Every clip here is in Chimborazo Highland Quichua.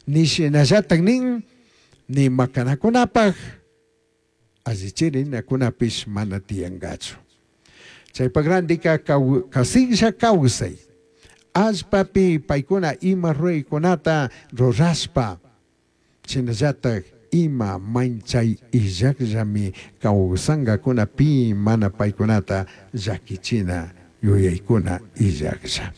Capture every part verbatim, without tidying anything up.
Nishinallatak nin ni makanakunapaj allichirinakunapish mana tiyankachu. Chaypak randika kasiklla kawsay allpapi paykuna ima ruraykunata rurashpa shinallatak ima manchay illakllami kawsankakuna pi mana paykunata llakichina yuyaykuna illaklla.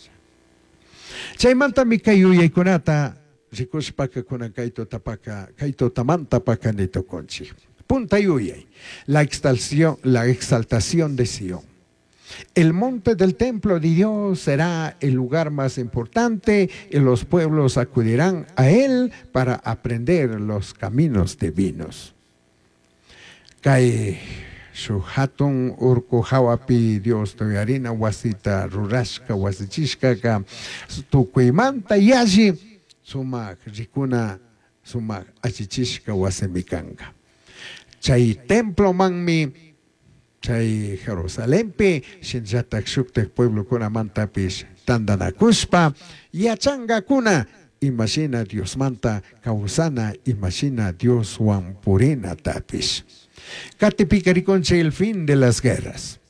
Chaymantami kay yuyaykunata rikushpaka kunan kay tutapaka kay tutamantapaka nitukunchik. Punta yuyay, la exaltación, la exaltación de Sion. El monte del templo de Dios será el lugar más importante y los pueblos acudirán a él para aprender los caminos divinos. Kay shuk hatun urku hawapi Dios tuyarina wasita rurashka wasichishkaka tukuymanta yalli sumak rikuna sumak allichishka wasimi kanka. Chay templomanmi chay Jerusalenpi shinallatak shuktak pueblokunamantapish tantanakushpa yachankakuna imashina Diosmanta kawsana imashina Dioswan purinatapish. Katipika rikunchik el fin de las guerras.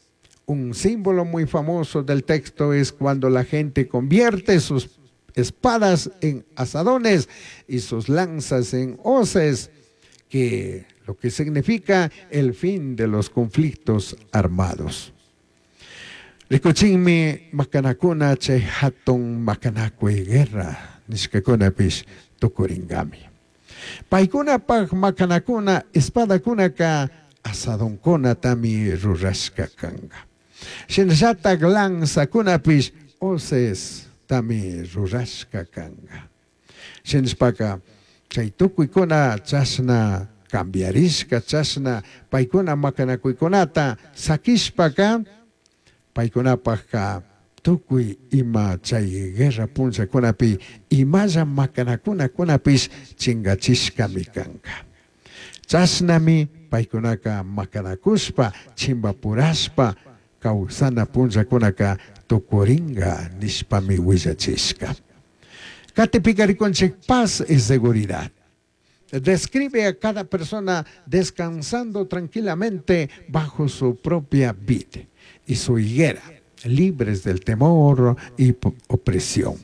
Un símbolo muy famoso del texto es cuando la gente convierte sus espadas en azadones y sus lanzas en hoces, que lo que significa el fin de los conflictos armados. Rikuchinmi makanakuna chay hatun makanakuy guerra nishkakunapish tukurinkami. Paykunapaj makanakuna espadakunaka azadonkunatami rurashka kanka. Shinallatak lanzakunapish hoces tami rurashka kanka. Shinashpaka chay tukuykuna chashna cambiarishka chashna paykuna makanakuykunata sakishpaka paykunapajka tukuy ima chay guerra punllakunapi imalla makanakunakunapish chingachishkami kanka. Chashnami paykunaka makanakushpa chimbapurashpa kawsana punllakunaka tukurinka nishpami willachishka. Katipika rikunchik paz y seguridad. Describe a cada persona descansando tranquilamente bajo su propia vid y su higuera, libres del temor y opresión.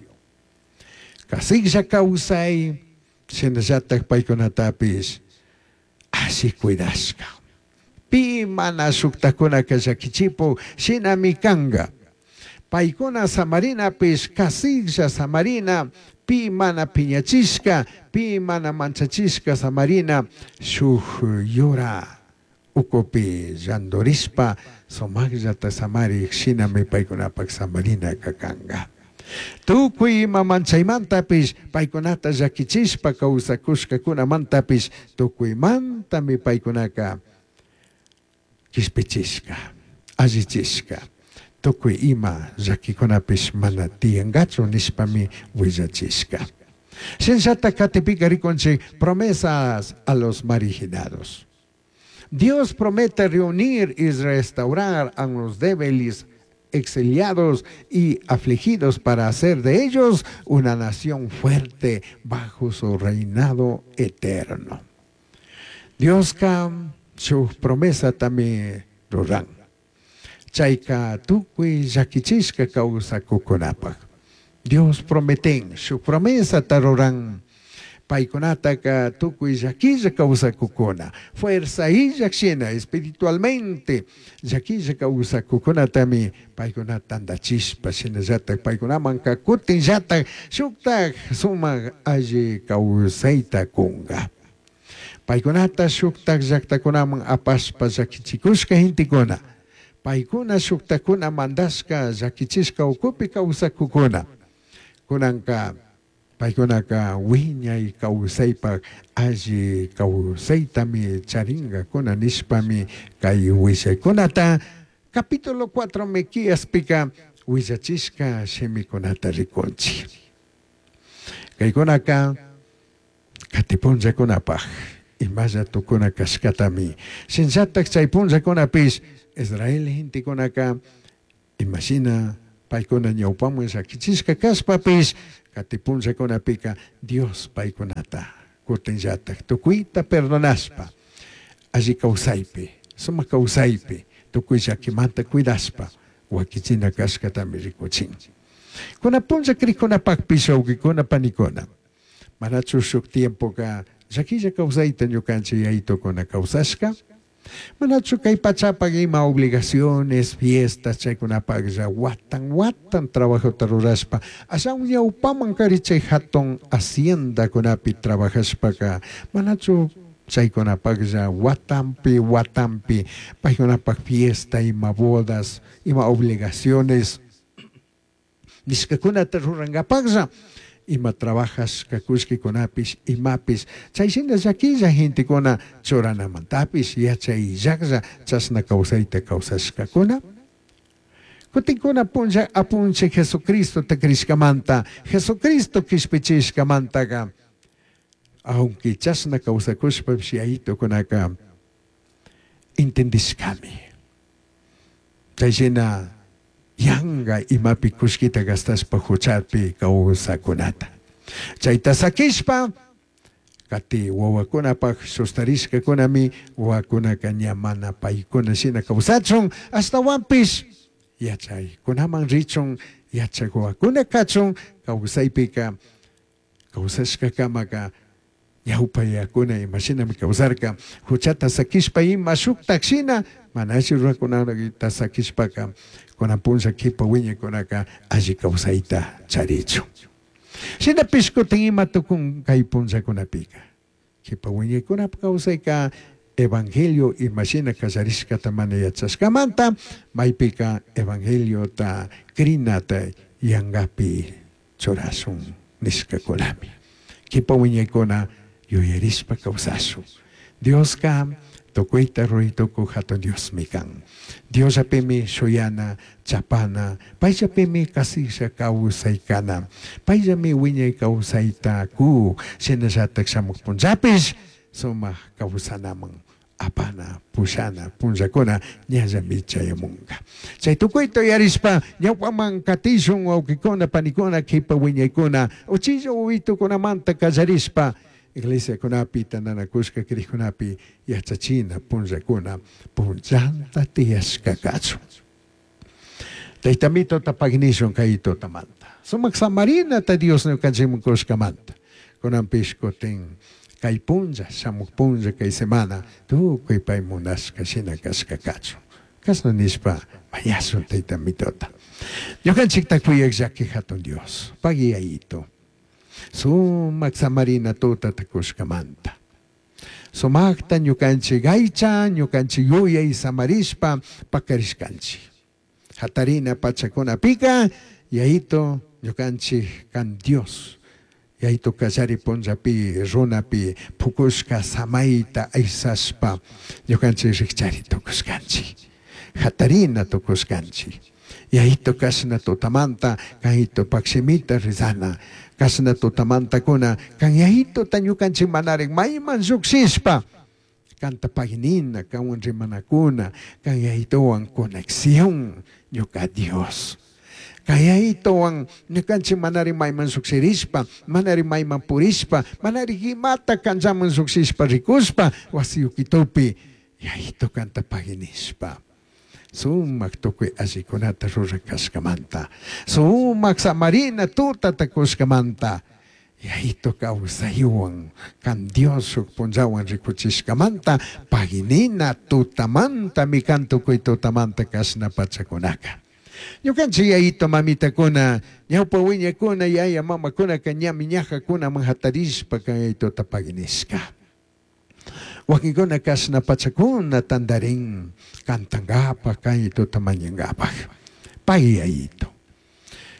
Kasiklla kawsay, shinallatak paykunatapish alli cuidashka. Pi mana shuktakunaka llakichipu shinami kanka. Paykuna samarinapish kasiklla samarina, pi mana piñachishka, pi mana manchachishka samarina, shuk yura ukupi llandurishpa sumakllata samarik shinami paykunapak samarinaka kanka. Tukuy ima manchaymantapish paykunata llakichishpa kawsakushkakunamantapish tukuymantami paykunaka kishpichishka, allichishka. Tukuy ima llakikunapish mana tiyankachu nishpami willachishka. Shinallatak katipika rikunchik promesas a los marginados. Dios promete reunir y restaurar a los débiles, exiliados y afligidos para hacer de ellos una nación fuerte bajo su reinado eterno. Dioska su promesa también ruran. Chayka tukuy llakichishka kawsakukunapaj. Dios prometen, su promesa taruran. Paykunataka tukuy llakilla kawsakukuna. Fuerza illak shina espiritualmente llakilla kawsakukunatami paykuna tantachishpa shinallatak paykunamanka kutinllatak shuktak sumak alli kawsayta kunka. Paykunata shuktak llaktakunaman apashpa llakichikushka gentekuna. Paykuna shuktakuna mandashka llakichishka ukupi kawsakukuna. Kunanka paykunaka wiñay kawsaypak alli kawsaytami charinkakuna nishpami kay willaykunata capítulo cuatro Miqueaspika willachishka shimikunata rikunchik. Kaykunaka katipunllakunapaj imalla tukuna kashkatami shinallatak chay punllakunapish Israel gentekunaka imashina paykuna ñawpaman llakichishka kashpapish katipunllakunapika Dios paykunata Kutinllatak tukuyta perdonashpa alli kawsaypi sumak kawsaypi tukuy llakimanta cuidashpa wakichina kashkatami rikuchin. Kuna punlla krikunapakpish wawqikuna panikuna manachu shuk tiempoka llakilla kawsayta ñukanchik yaytukuna kawsashka manachu kay pachapak ima obligaciones fiestas chaykunapaklla watan watan trabajota rurashpa ashawan ñawpaman kari chay hatun haciendakunapi trabajashpaka manachu chaykunapaklla watampi watampi paykunapak fiesta ima bodas ima obligaciones nishkakunata rurankapaklla ima trabajashka kullkikunapish imapish chayshina llakilla gentekuna churanamantapish yachayllaklla chashna kawsayta kawsashkakuna kutinkuna punlla apunchik Jesucristota krishkamanta Jesucristo kishpichishkamantaka aunque chashna kawsakushpapish yayitukunaka entendishkami chayshina yanga imapi kullkita gastashpa huchapi kawsakunata chayta sakishpa kati wawakunapak sustarishkakunami wawakunaka ña mana paykuna shina kawsachun ashtawanpish yachaykunaman richun yachak wawakuna kachun kawsaypika kawsashkakamaka ñawpayakuna imashinami kawsarka huchata sakishpa ima shuktak shina mana alli rurakunata sakishpaka kunan punlla kipa wiñaykunaka alli kawsayta charichun. Shinapish kutin ima tukun kay punllakunapika kipa wiñaykunapa kawsayka evangelio imashina kallarishkata mana yachashkamanta maypika evangeliota krinata yangapi churashun nishkakunami kipa wiñaykuna yuyarishpa kawsashun. Dioska tukuyta ruraytukuy hatun Diosmi kan. Diosllapimi shuyana chapana payllapimi kasilla kawsaykana payllami wiñay kawsayta ku shinallatak shamuq punllapish sumak kawsanaman apana pushana punllakuna ñallami chayamunka. Chay tukuyta uyarishpa ñawpaman katishun wawqikuna panikuna kipa wiñaykuna uchilla wawitukunamanta kallarishpa iglesiakunapi tantanakushka krikunapi yachachina punllakuna punllanta tiyashka kachun. Taytamito tapagnishun kay tutamanta. Sumak samarinata Dios ñukanchikman kushkamanta. Kunanpish kutin kay punlla shamuk punlla kay semana tukuy pay munashka shina kashka kachun. Kashna nishpa mañashun taytamitota. Ñukanchikta kuyak llaki hatun Dios. Pagiyayito. Sumak samarina tutata kushkamanta. Sumakta ñukanchik aycha ñukanchik yuyay samarishpa pakarishkanchik. Hatarina pachakunapika yayito ñukanchik kan Dios. Yayito kallari punllapi runapi pukushka samayta aysashpa ñukanchik rikchari tukushkanchik. Hatarina tukushkanchik. Yayito kashna tutamanta kayito pakshimita rizana. Kashna tutamantakuna kan yayitota ñukanchik manarik mayman llukshishpa kanta paginina kanwan rimanakuna kan yayitowan conexión ñuka Dios. Kan yayitowan ñukanchik manari mayman llukshirishpa manari mayman purishpa manari imata kanllaman llukshishpa rikushpa wasiyukitupi yayito kanta paginishpa. Sumak tukuy allikunata rurakashkamanta sumak samarina tutata kushkamanta yayito kawsaywan kan Dios shuk punllawan rikuchishkamanta paginina tutamantami kan tukuy tutamanta kashna pachakunaka. Ñukanchik yayito mamitakuna ñawpa wiñakuna yaya mamakunaka ñami ñajakunaman hatarishpa kan yayitota paginishka. Wakinkuna kashna pachakuna tantarin kantankapak kayitota mañankapak pay yayito.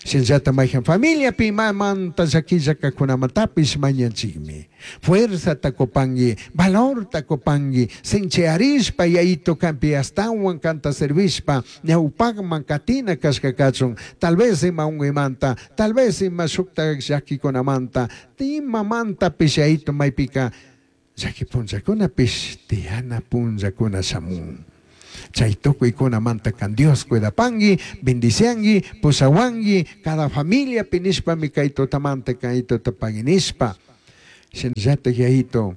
Shinllata mayhan familiapi imamanta llakillakakunamantapish mañanchikmi. Fuerzata kupanki, valorta kupanki, sinchiarishpa yayito kanpi astawan kanta servishpa ñawpakman katina kashka kachun, tal vez ima unguymanta, tal vez ima shukta llakikunamanta, imamantapish yayito maypika llaki punllakunapish tiyana punllakuna shamun. Chay tukuykunamanta kan Dios cuidapanki, bendicianki, pusawanki, cada familia pinishpami kay tutamanta kay tutapaginishpa. Shinallatak yayito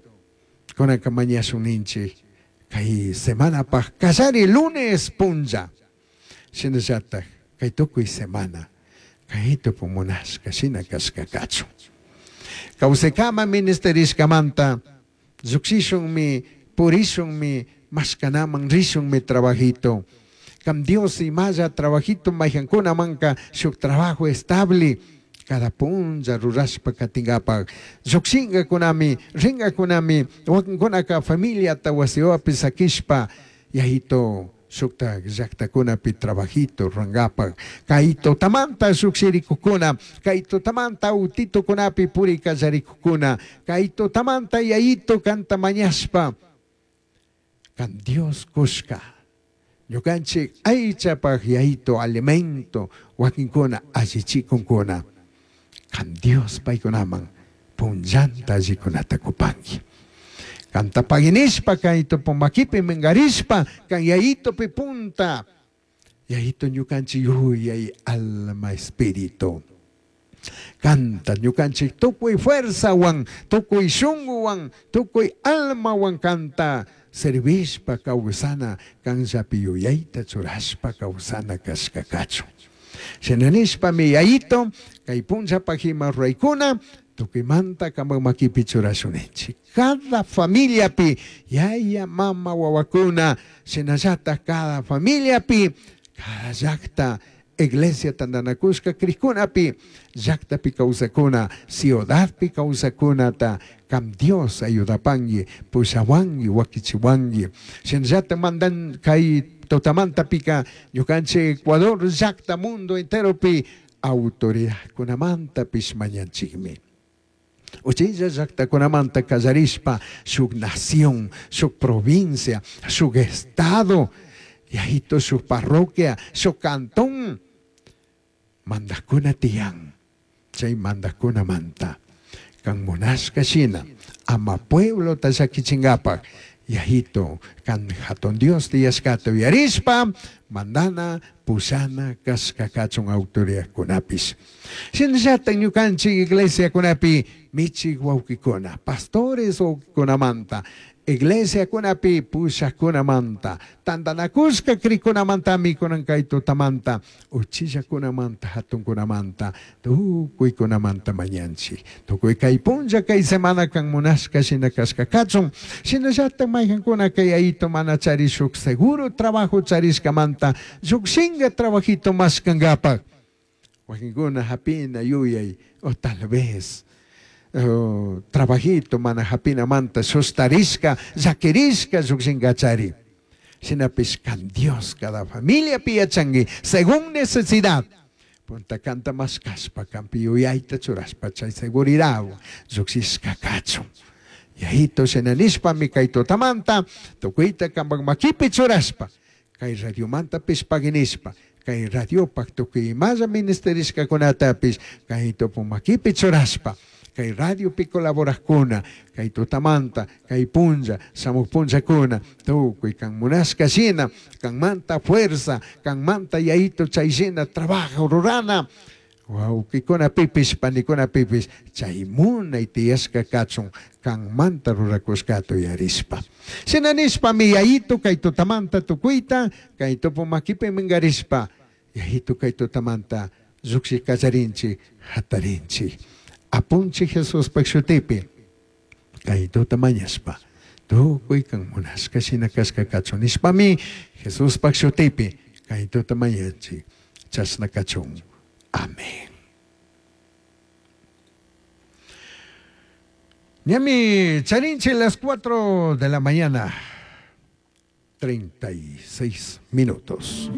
kunanka mañashun ninchik kay semanapaj kallari lunes punlla. Shinallatak kay tukuy semana kay tupu munashka shina kashka kachun. Kawsaykama ministerishkamanta llukshishunmi purishunmi mashkanaman rishunmi trabajito. Kam Dios imalla trabajito mayhankunamanka shuk trabajo estable cada punlla rurashpa katinkapak llukshinkakunami rinkakunami wakinkunaka familiata wasiwapi sakishpa yayito shuktak llaktakunapi trabajito rurankapak kay tutamanta llukshirikukuna kay tutamanta autitukunapi puri kallarikukuna kay tutamanta yayito kanta mañashpa kan Dios kushka ñukanchik aychapaj yayito alimento wakinkuna allichikunkuna kan Dios paykunaman punllanta allikunata kupanki. Kanta paginishpa kay tupumakipi mingarishpa kan yayitopi punta yayito ñukanchik yuyay alma espíritu kanta ñukanchik tukuy fuerzawan tukuy shunguwan tukuy almawan kanta servishpa kawsana kanllapi yuyayta churashpa kawsana kashka kachun. Shina nishpami yayito kay punllapaj ima ruraykuna tukuymanta kanpak makipi churashunchik. Cada familiapi yaya mama wawakuna shinallatak cada familiapi cada llakta iglesia tantanakushka krikunapi llaktapi kawsakuna ciudadpi kawsakunata kam Dios ayudapanki pushawanki wakichiwanki shinallatak mandan kay tutamantapika ñukanchik Ecuador llakta mundo enteropi autoridadkunamantapish mañanchikmi. Uchilla llaktakunamanta kallarishpa shuk nación, shuk provincia, shuk estado, yayito shuk parroquia, shuk cantón mandakuna tiyan, chay mandakunamanta kan munashka shina ama pueblota llakichinkapak yayito kan hatun Dios tiyashkata uyarishpa mandana pushana kashka kachun autoridadkunapish. Shinallatak ñukanchik iglesiakunapi michik wawkikuna, pastores wawkikunamanta, iglesiakunapi pushakkunamanta, tantanakushka krikunamantami kunan kay tutamanta, uchillakunamanta, hatunkunamanta, tukuykunamanta mañanchik. Tukuy kay punlla kay semana kan munashka shina kashka kachun, shinallatak mayhankuna kay yayito mana charishuk seguro trabajo charishkamanta, llukshinka trabajito mashkankapak. Wakinkuna hapina yuyay, o tal vez oh, trabajito mana hapinamanta sustarishka, llakirishka llukshinkachari. Shinapish kan Dios cada familia yachanki según necesidad. Punta kanta mashkashpa kampi yuyayta churashpa chay seguridad llukshishka kachun. Yayito shinanishpami kay tutamanta tukuyta kanpak makipi churashpa kay radiomanta paginishpa kay radiopak tukuy imalla ministerishkakunatapish kay tupumakipi churashpa kay radiopi colaborajkuna kay tutamanta kay punlla shamuj punllakuna tukuy kan munashka shina kanmanta fuerza kanmanta yayito chay shina trabajo rurana wawkikunapipish panikunapipish chay munay tiyashka kachun kanmanta rurakushkata uyarishpa. Shina nishpami yayito kay tutamanta tukuyta kay tupumakipi mingarishpa yayito kay tutamanta llukshi kallarinchik hatarinchik. Apunchik Jesuspak shutipi kay tuta mañashpa tukuy kan munashka shina kashka kachun nishpami Jesuspak shutipi kay tuta mañanchik chashna kachun. Amén. Ñami charinche las cuatro de la mañana, treinta y seis minutos.